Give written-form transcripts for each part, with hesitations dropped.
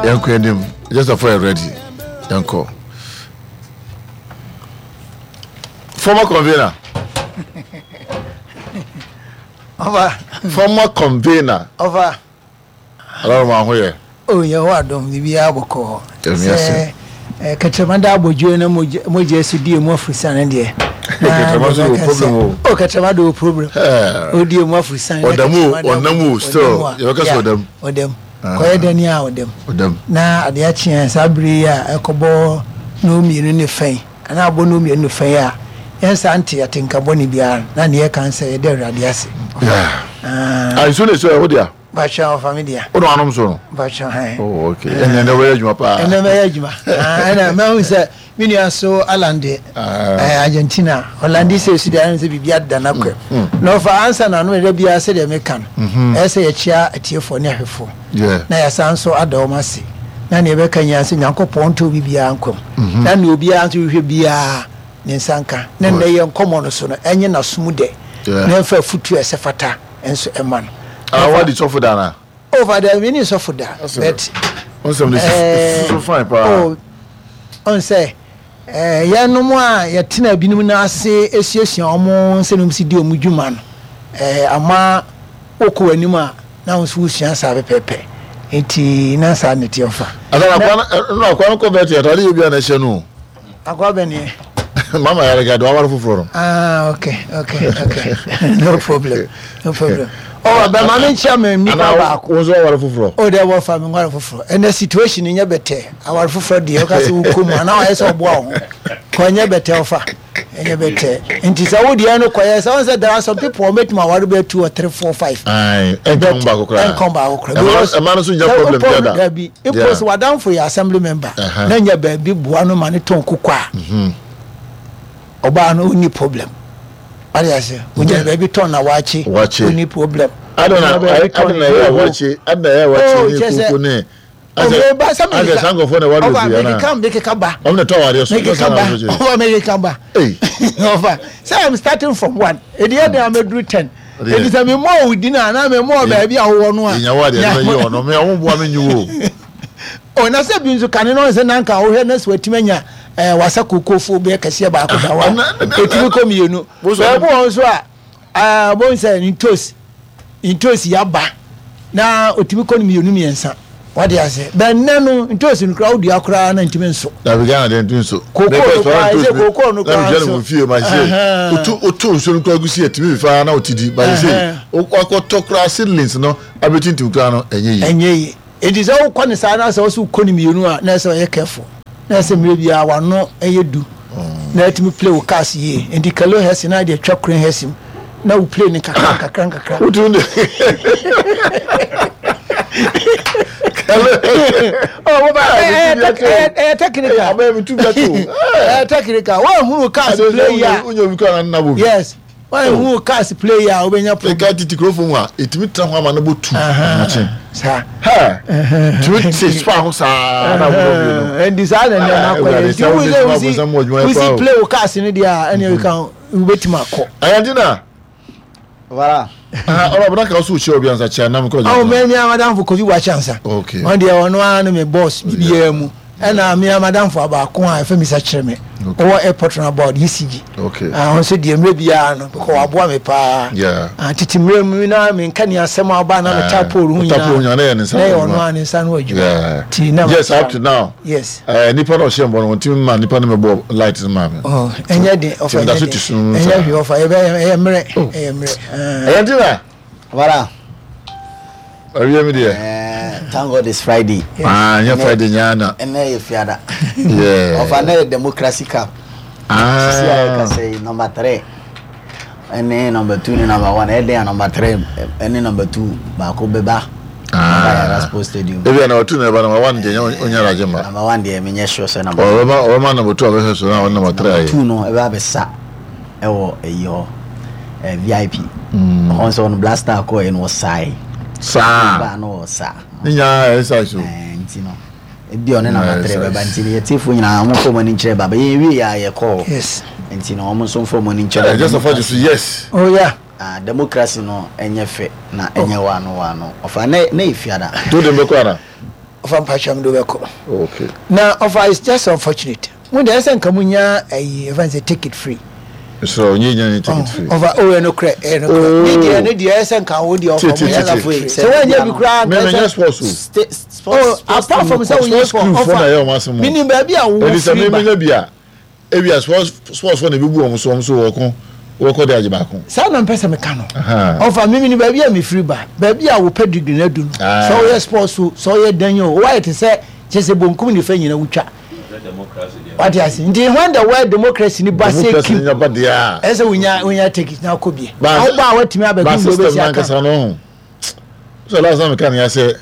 Yɛnkɔ anim. Just for yɛ ready. Yɛnkɔ. Former convener. Ɔfa. Former convener. Ɔfa. Ọlọ́run máa ho yɛ. O Yehowa adom biribiara bɔkɔɔ. Sɛ eh, kɛtrɛma da abɔdwoe na mogya so di emu afurusane deɛ. Kɛtrɛma so wɔ problem o. O kɛtrɛma de wɔ problem. O di emu afurusane. Ɔdam o ɔnam o still yɛbɛka sɛ ɔdam. Ɔdam. Kɔyɛ dɛn a ɔdam. Ɔdam. Na adeɛ akye a saa bere yi a ɛkɔbɔ no mmienu ne fɛn anaa abɔ no mmienu ne fɛn a yɛn saa nte atenka bɔne biara na neɛ ɛka sɛ yɛda Awurade ase. Ah, nsuo na ɛsɛ ɛhɔ deɛ. Mpakyɛw ɔfa me dea. Wo na wanom so no? Mpakyɛw hɛn. Oh okay. Ɛnna ɛnna bɛyɛ adwuma paa. Ɛnna bɛyɛ adwuma. Ɛnna mɛhu sɛ me nua so Alan de ɛɛ Argentina Ɔlande sɛ esu deɛ ayɛ sɛ biribi ada n'akwa mu. Na ɔfa ansa na ano ɛda biara sɛdeɛ meka no. Ɛyɛ sɛ yɛkyia atiefoɔ ne ahwɛfoɔ. Na yɛasan nso ada wɔn ase. Na nea yɛbɛka nyinaa sɛ Nyankopɔn nto obi biara nkwa mu. Na nea obiara nso hwehwɛ biara ne nsa nka. Na nnɛ yɛn nkɔmmɔ no so no ɛnyɛ n'asom dɛ. Na ɛmfa afutuo a ɛsɛ fata. nso ɛma no. Ah, wadi sɔfo da na? Oh, father, mi ni sɔfo da. But nsɛm de so fine paa. Oh, ɔn sɛ eh, yɛnom a yɛtena binom no ase esuasua wɔn sɛ nom si di wɔn dwuma no, eh, ama wokɔ w'anim a na wo nso wosua saa pɛpɛɛpɛ. Nti na saa na ɛteɛ ɔfa. Asa na akwa no kɔ bɛte atade yɛ bi a na ɛhyɛ no. Akwa bɛ neɛ. Mama yare gado aware foforɔ no. Ah okay okay okay no problem no problem. Oh bɛ ma me nkyia me nipa baako. Wo nso aware foforɔ. Oh dɛ wɔfa me nware foforɔ. Ɛnɛ situation nyɛ bɛtɛ aware foforɔ deɛ ɔka sɛ wokɔ mu anaa wayɛ sɛ ɔboa wo ho. Kɔ nyɛ bɛtɛ ɔfa ɛnyɛ bɛtɛ. Nti sɛ wo deɛ no kɔyɛ sɛ wɔn sɛ there are some people wɔn bɛtumi aware bɛyɛ two or three four five. Ayi ɛnkɔn baako koraa. Ɛnkɔn baako koraa. Ɛma no nso nya problem bi ada. Dabi Mpo sɛ w'adamfo yɛ assembly member na nya baabi boa no ma no tɔn kuku a, ɔbaa no ɔnni problem. Wate ase? Ɔnya baabi tɔn na wakye, ɔnni problem. Adana ɛyɛ wakye, adana ɛyɛ wakye ne kuku ne. Ɔmɛ sɛ mi keka sankofoɔ na ɛwɔ ɔfa mi keka mi keka ba. Ɔmo na tɔ awadeɛ so. Mi keka ba ɔfa mi keka ba. Ɔfa sɛ I'm starting from one edi ɛdi ameduru ten. Eti sɛ mi mɔ wo din a na mi mɔ baabi a wowɔ no a. Enya wo adeɛ no bɛyɛ ɔno me ɔmo boa me nyi wo. O na sɛ bi nso kane no sɛ nanka wohwɛ na sɛ watumi anya ɛɛ wasa kokofo bɛyɛ kɛseɛ baako da hɔ a etumi kɔ mmienu. Baabi wɔ nso a ɛɛ wɔn sɛ ntos ntos yaba na otumi kɔ no mmienu mmiɛnsa. Wate ase? Bɛ nnɛ no, ntoosi no koraa wodua koraa na ntumi nso. Dabi Ghana deɛ ntumi nso. Kokoo no koraa ɛsɛ kokoo no koraa nso. Na fie ma se otu otu nsuo no koraa gu si ɛtumi fa na ɔti di ba se wakɔtɔ koraa seedlings no abɛtintim koraa no ɛnyɛ yie. Ɛnyɛ yie. Eti sɛ wokɔ ne saa na sɛ wɔsɛ wokɔ ne mmienu a na ɛsɛ ɔyɛ careful. Na ɛsɛ mmerɛ biara wano ɛyɛ du na ɛtumi play wo cars yie. Nti kalo hɛsi na ɛde atwa kure hɛsi mu. na wo play no kakra nkakra nkakra. Wotumi de. Oh, baba, ɛyɛ technical. Abɛɛ mi tu bi ato. Ɛyɛ technical. Wɔn ehunu cars play yi a. Wonye obi kura na nna bo bi. Yes. Wɔn ehunu cars play yi a wobɛnya problem. Eka titi kurofo mu a etumi tena hɔ ama ne bo tu. Saa. Ha. Tumi te spa ho saa na wo bi no. Ɛndi saa na nneɛma akɔ yɛ. Nti wusi wusi play wo cars no deɛ a ɛna ɛka wobɛtumi akɔ. Ayadina. Voilà. Ah, ɔlɔ abena ka ɔsɔ okyia obi ansa kyia nam kɔ. Awo mɛ mi amadamfo Kofi Boakye ansa. Okay. Ɔn deɛ ɔno ara ne me boss bibiara mu. Ɛna mi amadamfo abaako a ɛfɛ mi sa kyerɛ me. Ɔwɔ airport na about ECG. Okay. Ah, ɔn nso deɛ mmerɛ biara no because waboa me paa. Yeah. Ah, tete mmerɛ mu na mi nka ni asɛm aba na me ta pole ho nyinaa. Ta pole nyinaa na yɛ ne nsa. Na yɛ ɔno ara ne nsa no adwuma. Yeah. Ti na. Yes, up to now. Yes. Eh, nipa na ɔhyɛ mbɔ no wɔn ti ma nipa no mɛbɔ light no maa mi. Oh, ɛnyɛ den ɔfa ɛnyɛ den ɛnyɛ hwee ɔfa ɛbɛ ɛyɛ mmerɛ oh. ɛyɛ mmerɛ. Ɛyɛ ti na. Wala. Ɛwiɛ mi deɛ. Eh, thank God it's Friday. Ah, ɛnyɛ Friday nyaa na. Ɛnɛ yɛ fiada. Yeah. Ɔfa ɛnɛ yɛ democracy cup. Ah. Sisi a yɛ kasa yi number three. Ɛne number two ne number one ɛyɛ den a number three ɛne number two baako bɛba. Bɛba Yara Sports Stadium. Ebi a number two na ɛba number one deɛ onya adagye ma. Number one deɛ menyɛ sure sɛ number. Ɔbɛma ɔbɛma number two abɛhwɛ so na ɔne number three ayɛ. Number two no ɛbɛ abɛsa ɛwɔ ɛyi hɔ ɛɛ VIP. Ɔhɔ nso ɔno Black Star kɔɔ yɛ no ɔsae. Saa. Baa no ɔsa. Ne nyinaa ɛyɛ size o. Ɛɛ nti no. Ebi ɔne number three bɛba nti no yɛtiefoɔ nyinaa wɔn mfa wɔn ani nkyerɛ baba yɛn wie yɛ a yɛkɔ hɔ. Yes. Nti no wɔn nso mfa wɔn ani nkyerɛ. Ɛɛ just afa so yes. Oh yeah. Ah democracy no ɛnyɛ fɛ na ɛnyɛ oh. wano wano ɔfa na na yɛ fiada. To de mbɛkɔ ana. Ɔfa mpakyɛw mede wo bɛkɔ. Okay. Na ɔfa it's just unfortunate. Mo deɛ ɛsɛ nka mo nya ayi ɛfa sɛ ticket free. Sɛ ɔnyɛ nya ne ticket free. Ɔfa o ɛno korɛ ɛno korɛ. Ne deɛ ne deɛ ɛsɛ nka wo deɛ ɔfa mo nya ticket free. Sɛ wɔnyɛ bi koraa nka ɛsɛ. Mɛ sports o. Oh apart from sɛ wonyɛ sport ɔfa menim baabi a wo firi ba. Ɛdi sɛ mɛ bi a. Ebia sports sports fo na ebebu wɔn so wɔn so wɔko wɔkɔ de agye baako. Saa na mpɛ sɛ meka no. Ɔfa me menim baabi a mefiri ba, baabi a wo pedigree no adu no, sɛ woyɛ sports o, sɛ woyɛ dɛn o, woayɛ te sɛ kyerɛ sɛ bonkum nifa nyina wotwa. Wate ase? Nti when the word democracy ni ba sɛ Democracy kim, nya ba deɛ a. ɛsɛ sɛ wonya wonya take it na akɔ bie. Ba Na woba a woatumi ba abɛdum deɛ system wobɛsi aka. nankasa no ho. So last time meka ne ya sɛ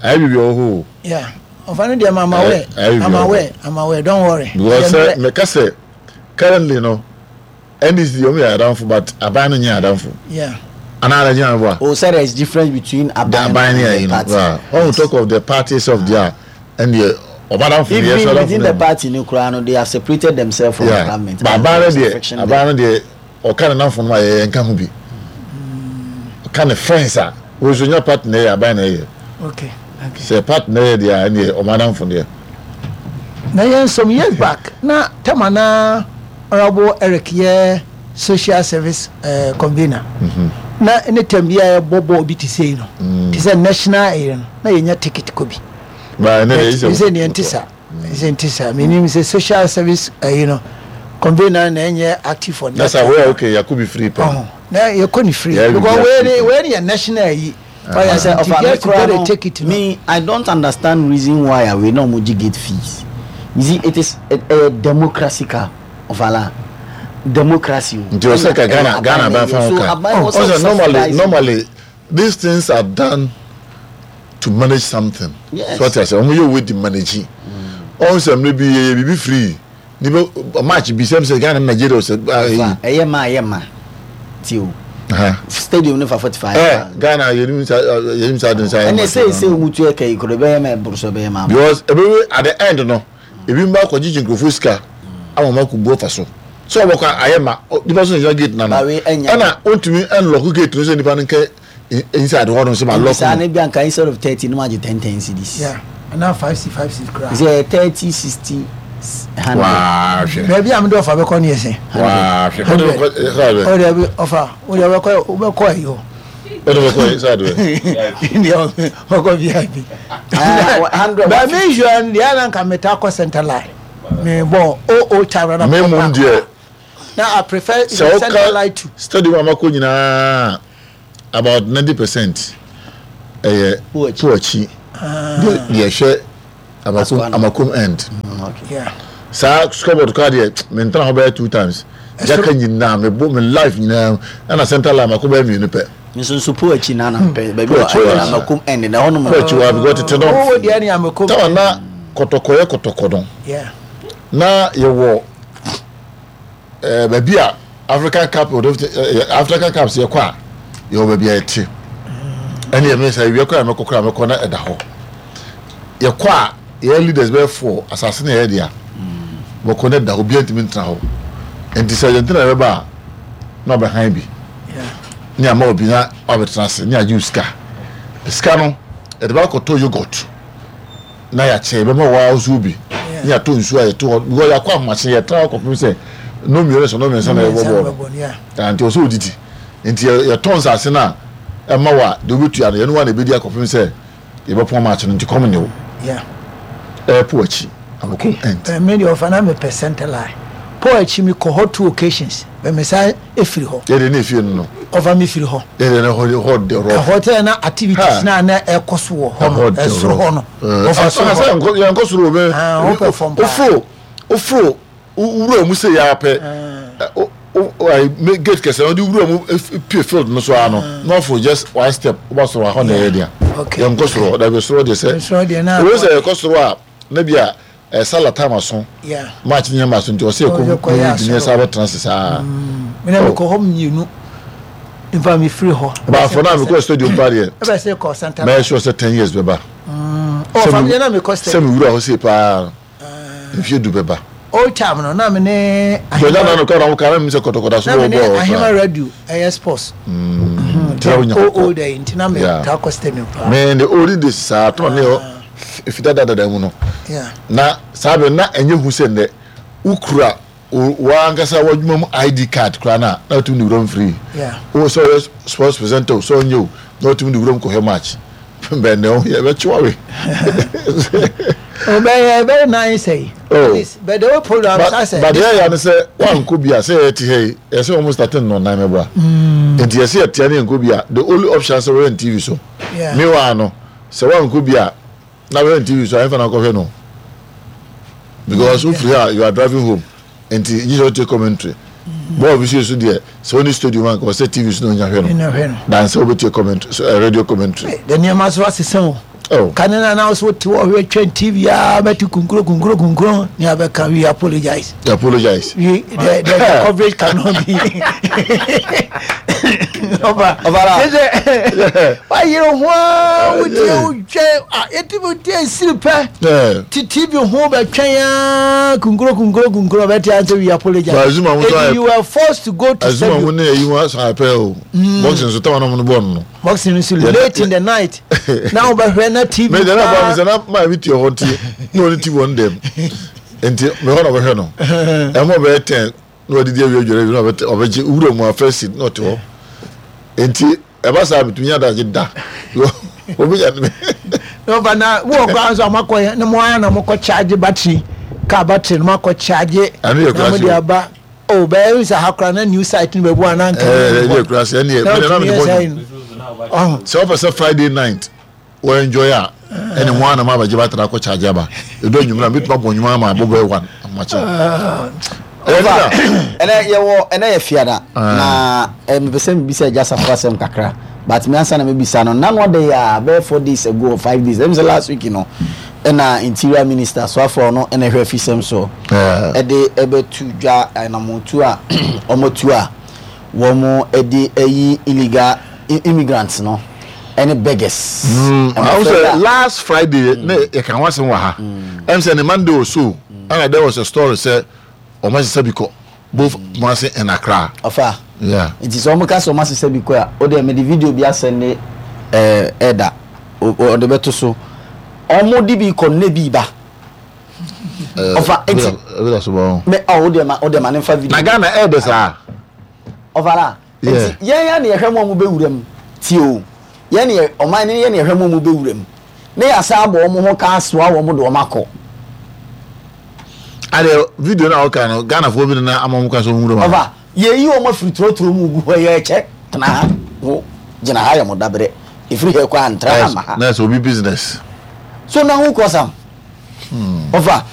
ayɛ biribi wɔ hɔ o. Yeah. Ɔfa no deɛ I'm aware. I'm aware. I'm aware. Don't worry. Because sɛ meka sɛ currently no NDC deɛ ɔmo yɛ adamfo but aban no nyɛ adamfo. Yeah. Anaa na gyina boa. Oh, sir, there is difference between aban and the party. Right. When we talk of the party itself, there, and the ɔbadamfo no yɛ sɛ within the party no koraa no they have separated themselves from the government. But aban no deɛ aban no deɛ Ɔka ne namfonom a yɛyɛ nka ho bi. Ɔka ne friends a wɔn nso nya party na ɛyɛ aban na ɛyɛ. Okay. Okay. Sɛ party na ɛyɛ deɛ a ɛneɛ ɔmo adamfo deɛ. Na yɛn some years back na tama na Honourable Eric yɛ social service uh, convener. Mm -hmm. Na ne tam bi a yɛbɔ bɔɔl bi te sei no. Mm. Te sɛ national ɛyɛ no na yɛnya ticket kɔ bi. Ba ne de sɛ neɛ nte saa. Sɛ nti saa menim sɛ social service ayi no convener na ɛnyɛ active for that. Nasa wei okay yɛakɔ bi free pɛ. Na yɛkɔ ne free because wei ne wei ne yɛ national ayi. Ɔyɛ sɛ ɔfa me kura no me I don't understand reason why a wei na ɔmo gye gate fees you see it is a democracy ka ɔfala democracy o. Nti ɔsɛ ka Ghana Ghana bɛn fa ho ka. Ɔsɛ normally normally These things are done to manage something. Yes. So ɔte ase, wɔn yɛ wei de manage. Ɔn sɛ mmerɛ bi yɛyɛ biribi free. Nipa match bi sɛm sɛ Ghana Nigeria sɛ. Ɛyɛ ma ɛyɛ ma ti o. Stadium no fa 45. Ɛ Ghana yɛnim sa yɛnim sa den sa. Ɛnna sɛ sɛ wɔn tu ɛka yi koro ɛbɛyɛ ma ɛboro so ɛbɛyɛ ma. Because ɛbɛwie at the end no ebi mba akɔ gyigyi nkurɔfoɔ sika ama wɔn akɔ bu afa so sɛ ɔbɛkɔ ayɛ ma nipa so na gyina gate nano ɛna ontumi ɛnlɔko gate no sɛ nipa no nkɛ inside hɔ nom sɛ ma lɔko saa ne bi anka instead of 30 no agye 10 10 cedis. Yeah, ana 5 c 5 c kura. Sɛ 30 60 100. Waa hwɛ. Baabi a mede ɔfa bɛkɔ ne yɛ sɛ. Waa hwɛ. 100. Ɔde bi ɔfa wode wobɛkɔ wobɛkɔ ayi hɔ. Wode bɛkɔ yi sɛ adeɛ. Deɛ ɔkɔ VIP. Ah, But me sure deɛ ana nka meta kɔ center line. Me bɔ o o time na Me mum deɛ. Na I prefer Sɛ center line woka to. stadium a makɔ nyinaa about 90% ɛyɛ po akyi deɛ ɛhwɛ Amakom Amakom end. Yeah. Saa scoreboard koraa deɛ mentena hɔ bɛyɛ two times. Jaka nyinaa mebɔ me life nyinaa ɛna center line mako bɛyɛ mmienu pɛ. Nso nso po akyi na na mpɛ baabi a ɛyɛ Amakom end na ɛhɔ nom. Po akyi wa because tete no. Owó deɛ ne Amakom. Tawa na kɔtɔkɔ yɛ kɔtɔkɔ no. Yeah. Na yɛwɔ ɛɛ baabi a African cup African cups yɛkɔ a yɛwɔ baabi a yɛte ɛne yɛ mesa ewia kɔ a mɛkɔ kora mɛkɔ na ɛda hɔ yɛkɔ a yɛyɛ leaders bɛyɛ fo asase na yɛyɛ dea wɔkɔ na ɛda hɔ obiara ntumi ntena hɔ nti sɛ Argentina bɛba a na ɔbɛhan bi ne ama obi na wabɛtena ase ne agye sika sika no yɛde ba akɔtɔ yogurt na yɛakyɛ yɛbɛma wo ara nso bi ne yɛatɔ nsuo a yɛto hɔ because yɛakɔ ahomakye yɛtra hɔ kɔpem sɛ no mmienu sɛ no mmiɛnsa na yɛbɔ bɔɔl no nti ɔsɛ odidi nti yɛtɔ nsase no a ɛma wo a deɛ wobɛtua no yɛne wo a na ɛbɛdi akɔpem sɛ yɛbɛpɔn match no nti kɔm ne wo ɛɛpo akyi amoko ɛnt. Me deɛ ɔfa na mepɛ center line po akyi mekɔ hɔ two occasions bɛ mesan efiri hɔ. Yɛde ne efie no no. Ɔfa me firi hɔ. Yɛde ne hɔ hɔ de rɔ. Ɛhɔ tɛ na activities na na ɛkɔ so wɔ hɔ no ɛsoro hɔ no. Ɔfa soro hɔ. Yɛn kɔ soro bɛ. Ɔpɛ fam paa. Ofuro ofuro wura mu sɛ yɛ apɛ. Gate kɛse na ɔde wura mu pie field no so ara no na ɔforo just one step ɔba soro hɔ na ɛyɛ dea. Yɛn kɔ soro dabi soro deɛ sɛ. Owó sɛ yɛkɔ soro a na bi a Eh Salah time aso. Yeah. Match ni ma so nti ɔsɛ ɛkɔ Ɔsɛ kɔ yɛ mu gyina saa bɛtena ase saa. Me na mekɔ hɔ mmienu. Nfa me firi hɔ. But for now mekɔ stadium pa deɛ. Ɛbɛ sɛ kɔ center. Mɛyɛ sure sɛ 10 years bɛba. Oh, fa me na mekɔ stadium. Sɛ me wura hɔ sei paa. Mfie du bɛba. Old time no na me ne. Gbɛdá na no kɔ na mo ka na mi sɛ kɔtɔkɔtɔ so bɔ bɔɔl. Na me ne Ahema radio ɛyɛ sports. Nti na wonya kɔkɔ. Old ɛyi nti na me taa kɔ stadium paa. Me the olden days saa tɔn ne hɔ. efi dadadada mu no na saa bɛ na ɛnyɛ hu sɛ nnɛ wokura w'ankasa w'adwuma mu ID card koraa no a na wotumi de wuram free. Wo sɛ ɔyɛ sports presenter o sɛ ɔnyɛ o na wotumi de wuram kɔhwɛ match. Bɛn na ɔyɛ bɛkye wawe. Ɔbɛyɛ very nice eh. Oh. But the whole program but, sɛ. But yɛ ya ne sɛ wankɔ bi a sɛ yɛte ha yi yɛsɛ wɔn starting no nan mɛboa. Nti yɛsɛ yɛtea ne yɛnkɔ bi a the only option sɛ wɔyɛ TV so. Meanwhile no sɛ wankɔ bi a na bɛhwɛ no TV so a ɛmfa na akɔhwɛ no because wofiri ha you are driving home nti gye sɛ wotie commentary bɔɔl bi so yɛ so deɛ sɛ wone stadium anka ɔsɛ TV so na onya hwɛ no dan sɛ wobɛtie commentary so, uh, radio commentary. De nneɛma so asesa o. Oh. Kane na na so te hɔ hwɛ twɛn TV a bɛte kunkuro kunkuro kunkuro ne abɛka we apologize. We apologize. We the the, the coverage cannot be. Ɔba Ɔbara. Sɛ wayere ho a wotie wotwɛn a yɛtumi wotie siri pɛ te TV ho bɛtwɛn a kunkuro kunkuro kunkuro bɛte ansɛ we apologize. Azuma ho so you were forced to go to stadium. Azuma ho ne ayi ho asan apɛ o. Boxing so tawa na mo no bɔ no. Boxing so late in the night. Na wobɛhwɛ na TV. Mɛ dɛm abɔ mi sɛ na maa mi tie hɔ nti na ɔne TV wɔn dɛm. Nti mɛ hɔ na ɔbɛhwɛ no. Ɛmɔ bɛyɛ 10 na wadidi awie adware awie na ɔbɛgye wura mu a first seat na ɔte hɔ nti ɛba saa metumi nya adagye da obi nya ne ɔfa na wowɔ kora nso a moakɔ na mo ara na mokɔ charge battery car battery no moakɔ charge na mode aba o bɛyɛ sɛ ha kora na new site no bɛbu anaa nka ɛne yɛ kura se ɛne yɛ na mede bɔ sɛ wopɛ sɛ Friday night wɔ enjoy a ɛne ho anam abɛgye batara akɔ charge aba ɛdɔ anwummerɛ a mɛtumi abɔ nnwuma ama abɔ bɛyɛ one ahomakye. Ɛnɛ yɛwɔ ɛnɛ yɛ fiada na mepɛ sɛ mebisa agya safo asɛm kakra but me ansa na mebisa no nano ada yi a bɛyɛ 4 days ago or 5 days ɛm sɛ last week no ɛna interior minister soafoɔ no ɛna ɛhwɛ afisɛm so ɛde ɛbɛtu dwa anamotu a ɔmatu a wɔn ɛde ayi illegal immigrants no ɛne beggars. Awo sɛ last Friday ne yɛ ka ho asɛm wɔ ha ɛm sɛ ne Monday or so ɛna there was a story sɛ wɔn asesa bi kɔ both Kumasi and Accra. Ɔfa nti sɛ wɔn ka sɛ wɔn asesa bi kɔ a o deɛ mede video bi asɛnde ɛɛ ɛda ɔde bɛto so wɔn de bi kɔ ne bi ba. Ɔfa nti mɛ ɔ o deɛ ma o deɛ ma ne nfa video. Na Ghana ɛɛdɛ saa. Ɔfa la. Nti yɛn ya na yɛhwɛ mo a mo bɛwura mu tie o yɛn na ɔman no yɛn na yɛhwɛ mo a mo bɛwura mu na yɛasan abɔ wɔn ho ka asoa wɔn de wɔn akɔ. Adeɛ video no a wɔka no Ghanafoɔ bi na ama wɔn ka sɛ wɔn wura mu. Ɔfa yɛyi wɔn afiri torotoro mu gu hɔ yɛkyɛ tena ha wo gyina ha yɛ mo dabrɛ ɛfiri ha kɔ antra ha ma ha. Na ɛsɛ obi business. So na ho kɔ sam. Ɔfa.